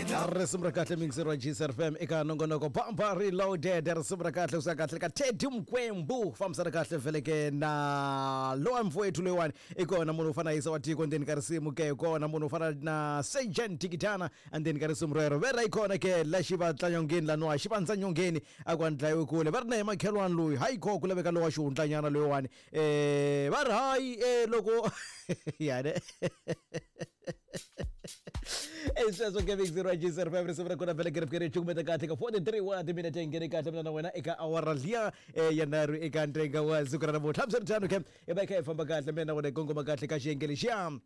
Risimu ra kahle mixer wa GCR FM eka nongonoko Bamba Reloaded. Risimu ra kahle kusuka kahle ka Teddy Mkwembu, fambisana kahle veleke na lowa mfowethu loyiwani. I kona munhu u fana yisa wa tiko ndzeni ka risimu ke, kona munhu u fana na Sejan Tikitana endzeni ka risimu rero. Vera yi kona ke la xivatlanyongeni laniwa xivandzanyongeni a ku a ni dlayiwi kule va ri na hi makhelwani loyi hayi ko ku laveka lowa xihundlanyana loyiwani, va ri hayi, loko yane sweswo ke mixer wa GCR 5. Risimu ra kona vele kerefkere cukumeta kahle ka 43 wa timinete, nghene kahle mina na wena eka awara liya ya nharhu eka ntenga wa siku ra namuntlha. Hambiswiritano ke i va i kha hi famba kahle mina na wena, hi kongoma kahle ka xiyenge lexiya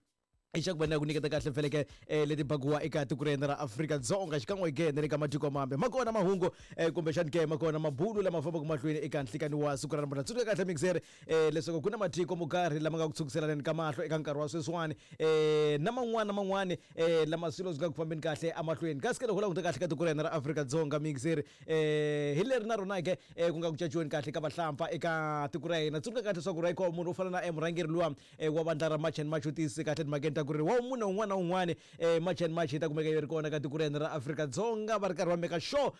i xa ku va na ku nyiketa kahle feleke leti bakiwa eka tiko ra hina ra Afrika-Dzonga xikan'we ke na le ka matiko mambe. Ma kona mahungu, kumbexani ke ma kona mabulu lama fambaka mahlweni eka nhlikani wa siku ra namuntlha. Tsundzuka kahle mixer, leswaku ku na matiko mo karhi lama nga ku tshukiselaneni ka mahlo eka nkarhi wa sweswiwani, na man'wana na man'wani, lama swilo swi nga ku fambeni kahle emahlweni. Kasi ke loko u languta kahle ka tiko ra hina ra Afrika-Dzonga mixer, hi leri na rona ke, ku nga ku caciweni kahle ka vahlampfa eka tiko ra hina. Tsundzuka kahle leswaku ra munhu wo fana na murhangeri luwa wa vandla ra March and March u tiyisise kahle timhakeni ta ku ri wa munhu un'wana na un'wana, March and March yi ta kumeka yi ri kona ka tiko ra hina ra Afrika-Dzonga, va ri karhi va meka sure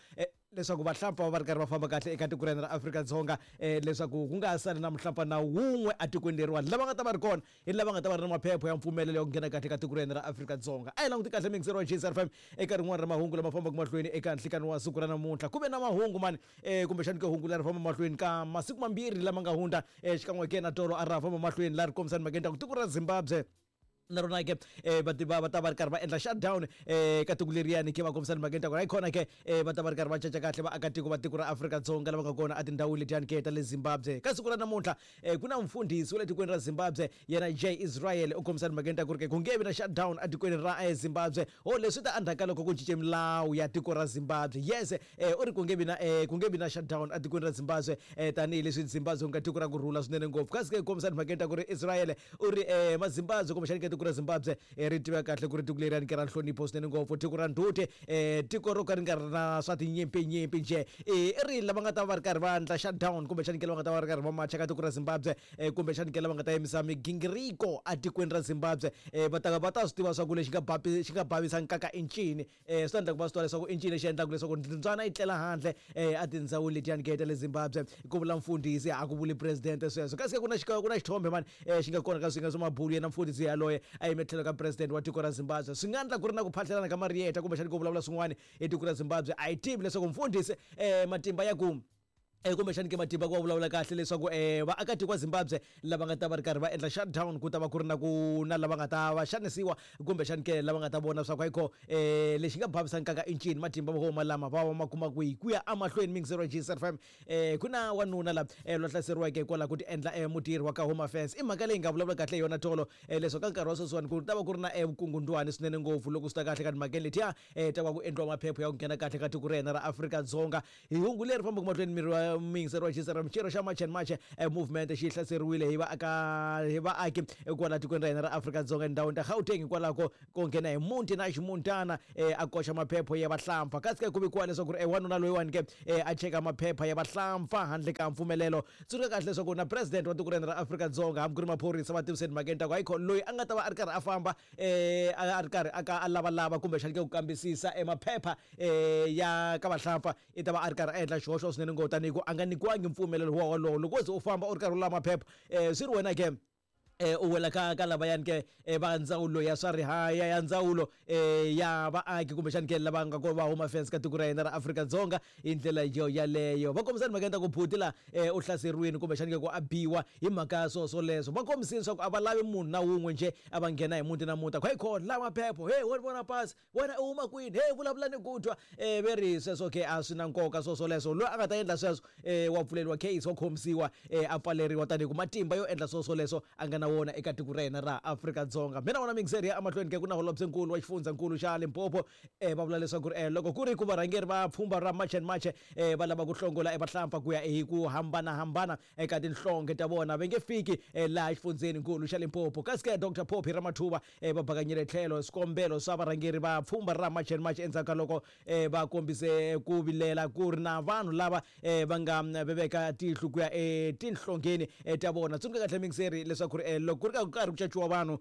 leswaku vahlampfa va va ri karhi va famba kahle eka tiko ra hina ra Afrika-Dzonga, leswaku ku nga ha sali na muhlampfa na wun'we etikweni leriwani. Lava nga ta va ri kona hi lava nga ta va ri na maphepha ya mpfumelelo ya ku nghena kahle ka tiko ra hina ra Afrika-Dzonga. A hi languti kahle mixer wa JCR FM eka rin'wana ra mahungu lama fambaka mahlweni eka nhlikani wa siku ra namuntlha. Ku ve na mahungu mani, kumbexani ke hungu leri famba mahlweni ka masiku mambirhi lama nga hundza, xikan'we ke na tolo a ra famba mahlweni la ri kombisani mhakeni ta ku tiko ra Zimbabwe na rona ke, va tiva va ta va ri karhi va endla shutdown, ka tiko leriyani ke. Va kombisani mhakeni ta ku hayi kona ke, va ta va ri karhi va caca kahle vaakatiko va tiko ra Afrika-Dzonga lava nga kona etindhawini letiyani ke ta le Zimbabwe. Ka siku ra namuntlha, ku na mfundhisi wa le tikweni ra Zimbabwe, yena J Israel, u kombisani mhakeni ta ku ri ke ku nge vi na shutdown etikweni ra Zimbabwe. Ho leswi ta endzhaku ka loko ku cince milawu ya tiko ra Zimbabwe. Yes, u ri ku nge vi na shutdown etikweni ra Zimbabwe, tanihileswi Zimbabwe ku nga tiko ra ku rhula swinene ngopfu. Kasi ke kombisani mhakeni ta ku ri Israel u ri, mazimbabwe kumbexani ke tiko ra Zimbabwe, ri tiveka kahle ku ri tiko leriyani ke ra nhlonipho swinene ngopfu, tiko ra ndzhuti, tiko ro ka ri nga ri na swa tinyimpinyimpi njhe. I ri lava nga ta va ri karhi va endla shutdown kumbexani ke lava nga ta va ri karhi va macha ka tiko ra Zimbabwe, kumbexani ke lava nga ta yimisa migingiriko etikweni ra Zimbabwe, va ta swi tiva swa ku lexi nga xi nga bavisa nkaka i ncini. Swi ta endla ku va swi tiva leswaku i ncini lexi endlaka leswaku mbyana yi tlela handle, etindhawini letiyani ke ta le Zimbabwe. Ku vula mfundhisi, a ku vuli president sweswo. Kasi ke ku na xithombe mani, xi nga kona ka swinga swa mabulu, yena mfundhisi yaloye a yime tlhelo ka president wa tiko ra Zimbabwe. Swi nga endla ku ri na ku phahlelana ka mariyeta kumbexani ku vulavula swin'wana hi tiko ra Zimbabwe. A hi tivi leswaku mfundhisi, matimba ya ku, kumbexani ke matimba ku va vulavula kahle leswaku, vaakatiko wa Zimbabwe lava nga ta va ri karhi va endla shutdown, ku ta va ku ri na ku na lava nga ta va xanisiwa kumbexani ke lava nga ta vona swa ku ayikho, lexi nga bavisa nkaka i ncini, matimba vo lama va va ma kuma kwihi. Ku ya emahlweni mixer wa GCR FM, ku na wanuna la, loyi hlaseriweke hikwalaho ku ti endla, mutirhi wa ka Home Affairs. I mhaka leyi nga vulavula kahle hi yona tolo, leswaku ka nkarhi wa sweswiwani ku ta va ku ri na, vukungundwani swinene ngopfu loko swi ta kahle ka timhakeni letiya, ta va ku endliwa maphepha ya ku nghena kahle ka tiko ra hina ra Afrika-Dzonga. Hi hungu leri fambaka mahlweni miri wa muyingiseri wa GCR, xirho xa March and March movement xi hlaseriwile hi vaaka hi vaaki kwala tikweni ra hina ra Afrika-Dzonga endhawini ta Gauteng hikwalaho ko nghena hi muti na ximuntana, a koxa maphepha ya vahlampfa. Kasi ke ku vikiwa leswaku ri, wanuna loyiwani ke, a cheka maphepha ya vahlampfa handle ka mpfumelelo. Tsundzuka kahle leswaku na president wa tiko ra hina ra Afrika-Dzonga hambi ku ri maphorisa va tiviseni mhakeni ta ku hayikho loyi a nga ta va a ri karhi a famba, a ri karhi a ka a lavalava kumbexani ke ku kambisisa maphepha, ya ka vahlampfa, i ta va a ri karhi a endla xihoxo swinene ngopfu, tanihi ku a nga nyikiwangi mpfumelelo wa wolowo. Loko wo ze u famba u ri karhi u lava maphepha, swi ri wena ke, u wela ka lavayani ke, va ndzawulo ya swa rihaya ya ndzawulo, ya vaaki kumbexani ke lava nga ko va Home Affairs ka tiko ra hina ra Afrika-Dzonga. Hi ndlela yo yaleyo va kombisani mhaka ta ku buti la, u hlaseriwini kumbexani ke ku a biwa hi mhaka ya swo swoleswo. Va kombisini swa ku a va lavi munhu na wun'we njhe a va nghena hi muti na muti a ku hey khona lava maphepha, hey wo vona pasi wena u huma kwini, hey vulavula ni ku twa. Ve ri sweswo ke a swi na nkoka swo swoleswo. Loyi a nga ta endla sweswo, wa pfuleriwa case, wa khomisiwa, a pfaleriwa, tanihi ku matimba yo endla swo swoleswo a nga na wona eka tiko ra hina ra Afrika-Dzonga. Mina wona mixer ya emahlweni ke ku na holobyenkulu wa xifundzankulu xa Limpopo, va vula leswaku ri, loko ku ri ku varhangeri va pfhumba ra March and March, va lava ku hlongola evahlampfa ku ya hi ku hambanahambana eka tinhlonge ta vona, va nge fiki, laha xifundzeni-nkulu xa Limpopo. Kasi ke Dr Phophi Ramathuba, va bakanyile tlhelo swikombelo swa varhangeri va pfhumba ra March and March endzhaku ka loko, va kombise ku vilela ku ri na vanhu lava, va nga veveka tihlo ku ya etinhlongeni, ta vona. Tsundzuka kahle mixeri leswaku ri, loko ku ri ka karhi ku caciwa vanhu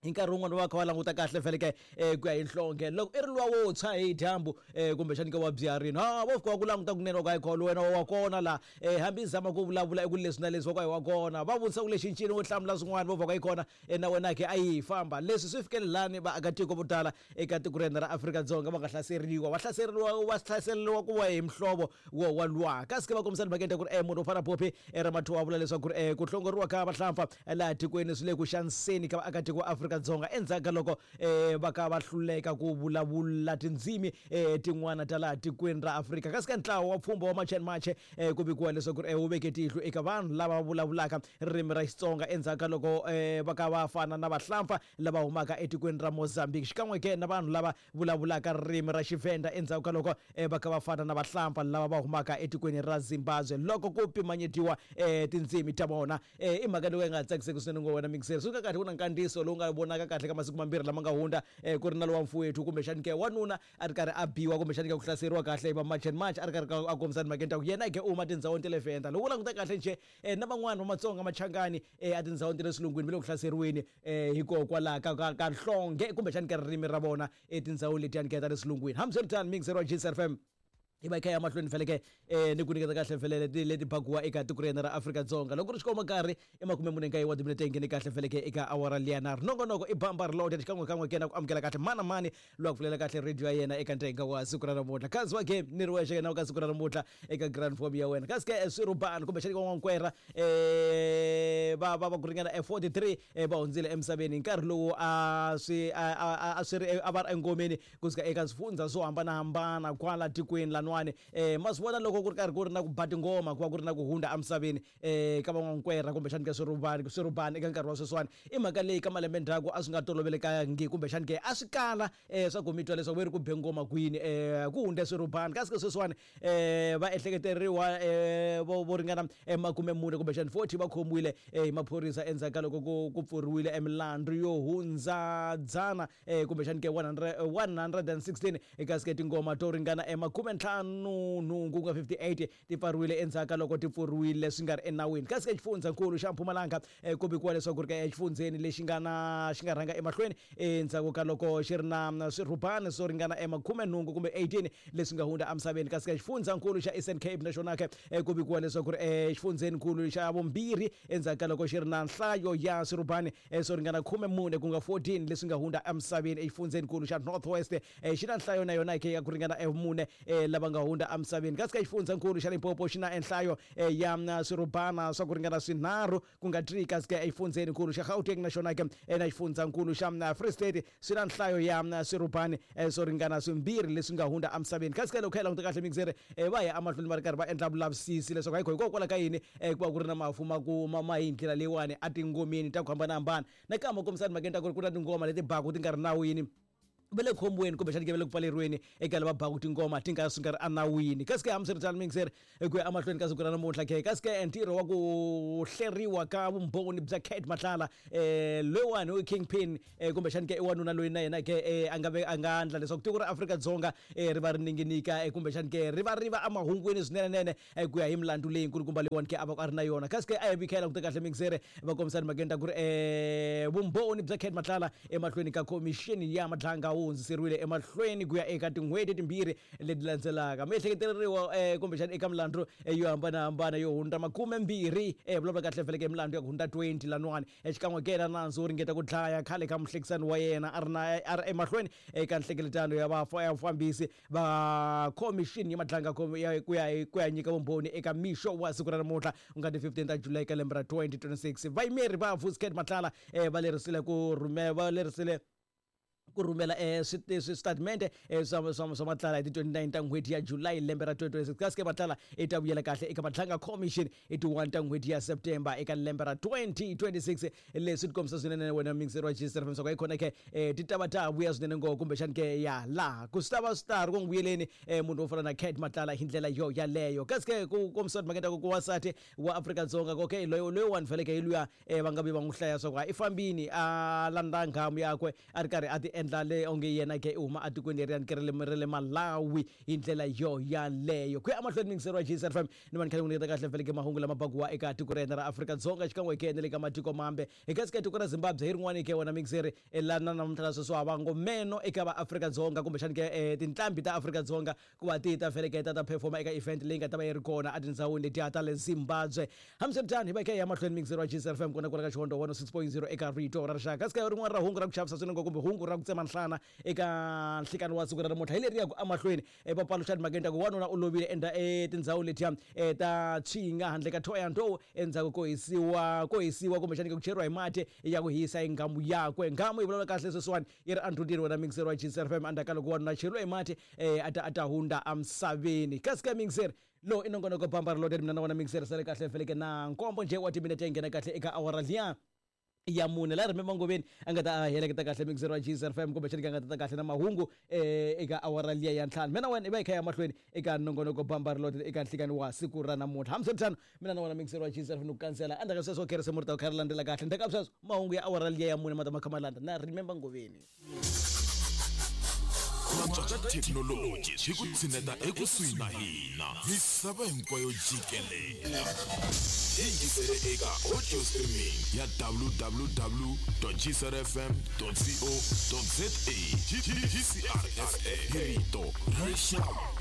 Hi nkarhi wun'wana va kha va languta kahle feleke ku ya hi nhlonge loko i ri luwa wo tshwa hi dyambu kumbexani ke wa byiharini ha vo fika va ku languta kunene va ku hayi kholo wena wa kona la hambi i zama ku vulavula eku leswi na leswi va ku hayi wa kona va vutisa ku lexi ncini wo hlamula swin'wana vo va ku hayi kona na wena ke a yi famba. Leswi swi fikele lani vaakatiko vo tala eka tiko ra hina ra Afrika-Dzonga va nga hlaseriwa va hlaseriwa va hlaseriwa ku va hi muhlovo wo wa luwa. Kasi ke va kombisa timhaka ta ku ri munhu wo fana Phophi Ramathuwa vula leswaku ri ku hlongoriwa ka vahlampfa laha tikweni swi le ku xaniseni ka vaakatiko va Afrika-Dzonga endzhaku ka loko va ka va hluleka ku vulavula tindzimi tin'wana ta laha tikweni ra Afrika. Kasi ka ntlawa wa pfhumba wa March and March ku vikiwa leswaku ri wu veke tihlo eka vanhu lava vulavulaka ririmi ra Xitsonga endzhaku ka loko va ka va fana na vahlampfa lava humaka etikweni ra Mozambique xikan'we ke na vanhu lava vulavulaka ririmi ra Xivenda endzhaku ka loko va kha va fana na vahlampfa lava va humaka etikweni ra Zimbabwe loko ku pimanyetiwa tindzimi ta vona. I mhaka leyi nga tsakiseki swinene ngo wena mixer. Swi nga kahle ku na nkandziyiso lowu nga vonaka kahle ka masiku mambirhi lama nga hundza ku ri na lowa mfowethu kumbexani ke wanuna a ri karhi a biwa kumbexani ke ku hlaseriwa kahle hi va March and March a ri karhi a kombisa timhakeni ta ku yena ke u huma tindhawini ta le Venda. Loko u languta kahle njhe na van'wani va Matsonga Machangani etindhawini ta le swilungwini va le ku hlaseriweni hikokwalaho ka nhlonge kumbexani ka ririmi ra vona etindhawini letiyani ke ta le swilungwini. Hambiswiritano mixer wa Gcr FM hi va hi kha ya mahlweni feleke ni ku nyiketa kahle felele leti bakiwa eka tiko ra hina ra Afrika-Dzonga. Loko ri xikomba nkarhi i 49 wa timinete nghene kahle feleke eka awara liya nharhu. Nongonoko i bamba ri lote xikan'wekan'we ke na ku amukela kahle mani na mani loyi a ku pfulela kahle radio ya yena eka ntenga wa siku ra namuntlha. Khazi wa game ni ri wexe yena ka siku ra namuntlha eka grand form ya wena. Kasi ke swirhubani kumbexani ka n'wankwera va ku ringana 43 va hundzile emisaveni hi nkarhi lowu a swi a swi ri a va ri engomeni kusuka eka swifundza swo hambanahambana kwala tikweni laniwani. Ma swi vona loko ku ri karhi ku ri na ku ba tingoma ku va ku ri na ku hundza emisaveni ka van'wankwera kumbexani ka swirhubani swirhubani eka nkarhi wa sweswiwani i mhaka leyi ka malembe ndzhaku a swi nga tolovelekangi kumbexani ke a swi kala swa ku mi twa leswaku ve ri ku be ngoma kwini ku hundze swirhubani. Kasi ke sweswiwani va ehleketeriwa vo ringana 40 kumbexani 40 va khomiwile hi maphorisa endzhaku ka loko ku pfuriwile emilandzu yo hundza dzana kumbexani ke 116 kasi ke tingoma to ringana 58 ku nga 58 ti pfariwile endzhaku ka loko ti pfuriwile swi nga ri enawini. Kasi ke xifundzankulu xa Mpumalanga ku vikiwa leswaku ri ka exifundzeni lexi nga na xi nga rhanga emahlweni endzhaku ka loko xi ri na swirhubani swo ringana 18 kumbe 18 leswi nga hundza emisaveni. Kasi ka xifundzankulu xa Eastern Cape na xona ke ku vikiwa leswaku ri exifundzeninkulu xa vumbirhi endzhaku ka loko xi ri na nhlayo ya swirhubani swo ringana 14 ku nga 14 leswi nga hundza emisaveni. Exifundzeninkulu xa North West xi na nhlayo na yona ke ya ku ringana mune lava nga hundza emisaveni. Kasi ka xifundzankulu xa Limpopo xi na nhlayo ya swirhubana swa ku ringana swinharhu ku nga 3. Kasi ke exifundzeninkulu xa Gauteng na xona ke na xifundzankulu xa Free State swi na nhlayo ya swirhubani swo ringana swimbirhi leswi nga hundza emisaveni. Kasi ke loko kha hi languta kahle mixere va ya emahlweni va ri karhi va endla vulavisisi leswaku hayi hikokwalaho ka yini ku va ku ri na mafu ma ku ma hi ndlela leyiwani a tingomeni ta ku hambanahambana. Nakambe kombisa timhakeni ta ku ri ku na tingoma leti baku ti nga ri nawini va le khombweni kumbexani ke va le ku pfaleriweni eka lava baku tingoma ti nga swi nga ri enawini. Kasi ke hambiswiritano mixere ku ya emahlweni ka siku ra namuntlha ke kasi ke ntirho wa ku hleriwa ka vumbhoni bya Cat Matlala loyiwani u kingpin kumbexani ke i wanuna loyi na yena ke a nga a nga endla leswaku tiko ra Afrika-Dzonga ri va ri ninginika kumbexani ke ri va ri va emahungwini swinenenene ku ya hi milandzu leyi nkulukumba leyiwani ke a va a ri na yona. Kasi ke a hi vi kha hi languta kahle mixere va kombisa timhakeni ta ku ri vumbhoni bya Cat Matlala emahlweni ka khomixini ya Madlanga wu hundziseriwile emahlweni ku ya eka tin'hweti timbirhi leti landzelaka. Miehleketeleriwa kumbexani eka milandzu yo hambanahambana yo hundza 20 vulavula kahle feleke milandzu ya ku hundza 20 laniwani xikan'we ke na nandzu wo ringeta ku dlaya khale ka muhlekisani wa yena a ri na a ri emahlweni eka nhlengeletano ya vafambisi va khomixini ya Madlanga ku ya nyika vumbhoni eka mixo wa siku ra namuntlha ku nga ti 15 ta July ka lembe ra 2026. Vayimeri va Vusi Cat Matlala va lerisile ku rhumela va lerisile ku rhumela switatimende swa Matlala hi ti 29 ta n'hweti ya July lembe ra 2026. Kasi ke Matlala i ta vuyela kahle eka Madlanga Commission i ti 1 ta n'hweti ya September eka lembe ra 2026. Leswi ti kombisa swinene wena mixer wa Gcr FM swa ku khona ke ti ta va ta vuya swinene ngopfu kumbexani ke ya laha ku swi ta va swi ta ri ku n'wi vuyeleni munhu wo fana na Cat Matlala hi ndlela yo yaleyo. Kasi ke ku kombisa timhaka ta ku ku wansati wa Afrika-Dzonga okay loyiwani feleke hi luya va nga vi va n'wi hlaya swa ku i fambini a landza nghamu yakwe a ri karhi a ti endla. endla le onge yena ke i huma atikweni leriyani ke ra le ra le Malawi hi ndlela yo yaleyo. Ku ya emahlweni miyingiseri wa GCR FM ni va ni kha ni n'wi nyiketa kahle vhele ke mahungu lama bakiwa eka tiko ra hina ra Afrika-Dzonga xikan'we ke na le ka matiko mambe. Hi kasi ke tiko ra Zimbabwe hi rin'wani ke wena miyingiseri la na namuntlha la sweswi wa va ngo meno eka va Afrika-Dzonga kumbexani ke tinqambi ta Afrika-Dzonga ku va ti ta feleketa ta performa eka event leyi nga ta va yi ri kona etindhawini letiya ta le Zimbabwe. Hambiswiritano, hi va hi kha hi ya mahlweni mixer wa GCR FM kona kwala ka Xihondzo 106.0 eka Rito ra Rixaka. Kasi ka rin'wana ra hungu ra ku chavisa swinene kumbe hungu ra ku tsema nhlana eka nhlikani wa siku ra namuntlha hi leri ya ku emahlweni va paluxa timhakeni ta ku wanuna u lovile enda etindhawini letiya ta Tshinga handle ka Thohoyandou endzhaku ko hisiwa ko hisiwa kumbexani ku cheriwa hi mati ya ku hisa hi nghamu yakwe. Nghamu yi vulavula kahle sweswiwani yi ri endzhutini wena mixer wa GCR FM endzhaku ka loko wanuna a cheriwe hi mati a ta a ta hundza emisaveni. Kasi ka mixer Lowu i nongonoko Bamba Ri Loaded, mina na wena mixer sale kahle feleke na nkombo njhe wa timinete yi nghena kahle eka awara liya ya mune la Remember Ngoveni a nga ta a heleketa kahle mixer wa GCR FM kumbexani ka nga ta ta kahle na mahungu eka awara liya ya ntlhanu. Mina na wena i va hi kha hi ya mahlweni eka nongonoko Bamba Ri Loaded eka nhlikani wa siku ra namuntlha. Hambiswiritano mina na wena mixer wa GCR FM ni ku kandzela endzhaku ka sweswo kherisimu ri ta kha ri landzela kahle. Ndzhaku ka sweswo mahungu ya awara liya ya mune ma ta ma kha ma landza na Remember Ngoveni. Ku antswa ka thekinoloji swi ku tshineta ekusuhi na hina misava hinkwayo jikelele. Yingisele eka audio streaming ya www.gcrfm.co.za. GCR FM, hi rito ra rixaka.